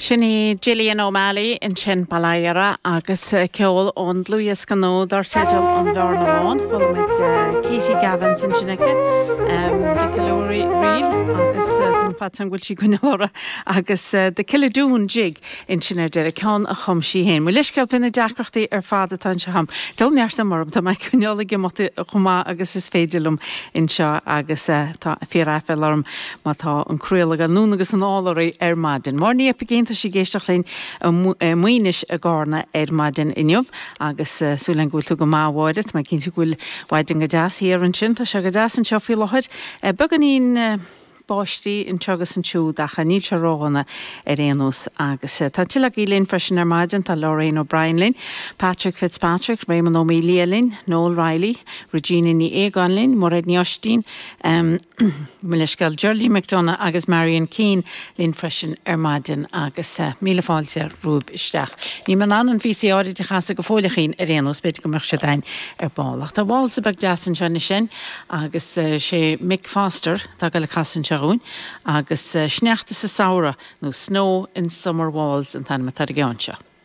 Sin í Gillian O'Malley ansin, Baile Átha agus ceol ón dlúthdhiosca nua dar teideal An Bhearna Bhán. Chuala muid Katie Gavins ansin aici, The Killure Reel agus tá faitíos orm go bhfuil sí ag coinneáil orthu agus The Killadoon Jig ansin ar deireadh, ceann a chum sí féin. Mo leithscéal fé na deacrachtaí ar fad atá anseo agam. Diabhal neart ama orm, tá mé ag coinneáil ag imeacht chomh maith agus is féidir liom anseo agus tá fíor-aiféala orm má tá an craoladh ag dul anonn agus anall oraibh ar maidin. Máire Ní Oipeigín, tá sí ag éisteacht linn i Maínis i gCarna ar maidin inniu agus súil agam go bhfuil tú go maith a Mháire, tá mé cinnte go bhfuil maidin go deas thiar ansin, tá sé go deas anseo faoi láthair. Beagáinín báistí anseo agus ansiúd ach níl sé ródhona ar aon nós agus tá tuilleadh agaibh linn freisin ar maidin, tá Lorraine O'Brien linn, Patrick Fitzpatrick, Réamonn Ó Maolaodha linn, Noel Reilly, Regina Ní Aogáin linn, Mairéad Ní Oistín, Mo leithscéal, Geraldine McDonagh agus Marion Keane linn freisin ar maidin agus míle fáilte romhaibh isteach. Níl mé in ann an phíosa áirid a chasadh go fóill a Chian ar aon nós, b'fhéidir go mbeadh siad againn ar ball. Ach tá válsa beag deas anseo anois againn agus sé Mick Foster atá ag dul a casadh anseo dhúinn agus Sneachta sa Samhradh nó Snow in Summer Waltz an t-ainm atá ar an gceann seo.